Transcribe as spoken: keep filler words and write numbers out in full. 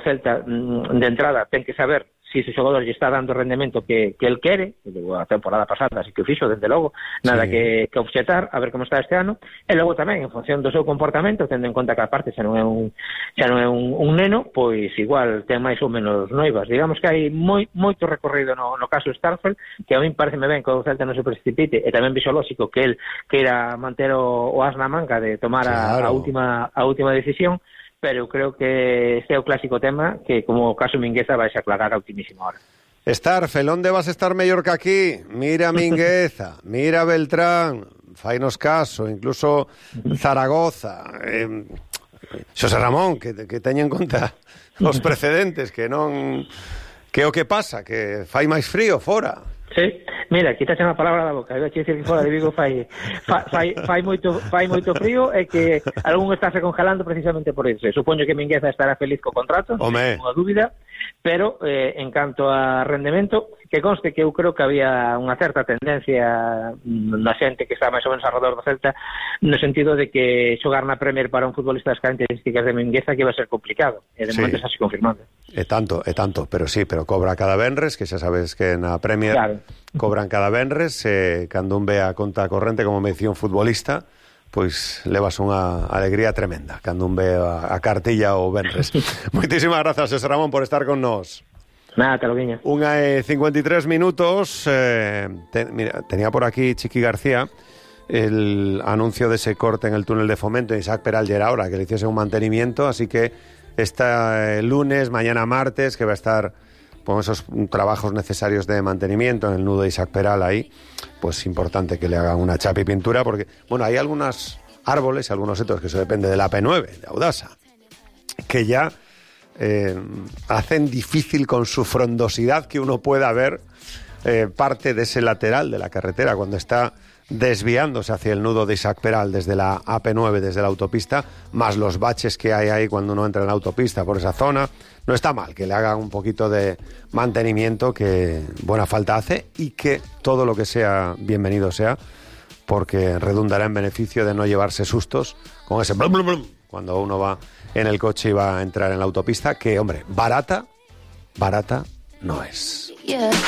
Celta de entrada ten que saber se si ese xogador lle está dando o rendemento que, que el quere, a temporada pasada así que o fixo, dende logo, nada sí. que, que obxetar, a ver como está este ano, e logo tamén, en función do seu comportamento, tendo en conta que a parte xa non é un xa non é un, un neno, pois igual ten máis ou menos noivas. Digamos que hai moi, moito recorrido no, no caso Starfelt, que a mí pareceme ben que o Celta non se precipite, e tamén vixo lógico que el queira manter o, o as na manga de tomar claro. a, a última a última decisión, pero eu creo que este é o clásico tema que, como o caso Mingueza, vais a aclarar a ultimísima hora. Starfel, onde vas a estar mellor que aquí? Mira Mingueza, mira Beltrán, fainos caso, incluso Zaragoza, eh, Xosé Ramón, que, que teña en conta os precedentes, que non... Que o que pasa? Que fai máis frío fora. Sí, mira, quitaxe a palabra da boca. Eu dicir que fora de Vigo fai, fai, fai, moito, fai moito frío e que algún está se congelando precisamente por isso. Supoño que Mingueza estará feliz co contrato, non unha dúbida, pero eh, en canto a rendemento, que conste que eu creo que había unha certa tendencia na xente que está máis ou menos alrededor do Celta, no sentido de que xogar na Premier para un futbolista das características de Mingueza que iba a ser complicado, e de sí. momento está así confirmando. E tanto, e tanto, pero sí, pero cobra cada venres, que xa sabes que na Premier claro. cobran cada venres, e cando un ve a conta corrente, como me dicía un futbolista, pois levas unha alegría tremenda cando un ve a, a cartilla ou venres. Moitísimas grazas, Xosé Ramón, por estar con nós. Nada, te lo guiño. Unha e cincuenta y tres minutos. Eh, te, mira, tenía por aquí Chiqui García el anuncio de ese corte en el túnel de Fomento de Isaac Peral era ahora, que le hiciese un mantenimiento, así que este lunes, mañana martes, que va a estar con esos trabajos necesarios de mantenimiento en el nudo de Isaac Peral ahí, pues importante que le hagan una chapa y pintura, porque, bueno, hay algunos árboles, algunos setos, que eso depende de la A P nueve, de Audasa, que ya eh, hacen difícil con su frondosidad que uno pueda ver eh, parte de ese lateral de la carretera cuando está desviándose hacia el nudo de Isaac Peral desde la A P nueve, desde la autopista, más los baches que hay ahí cuando uno entra en la autopista por esa zona. No está mal que le hagan un poquito de mantenimiento, que buena falta hace, y que todo lo que sea bienvenido sea, porque redundará en beneficio de no llevarse sustos con ese blum, blum, blum, cuando uno va en el coche y va a entrar en la autopista, que, hombre, barata, barata no es. Yeah.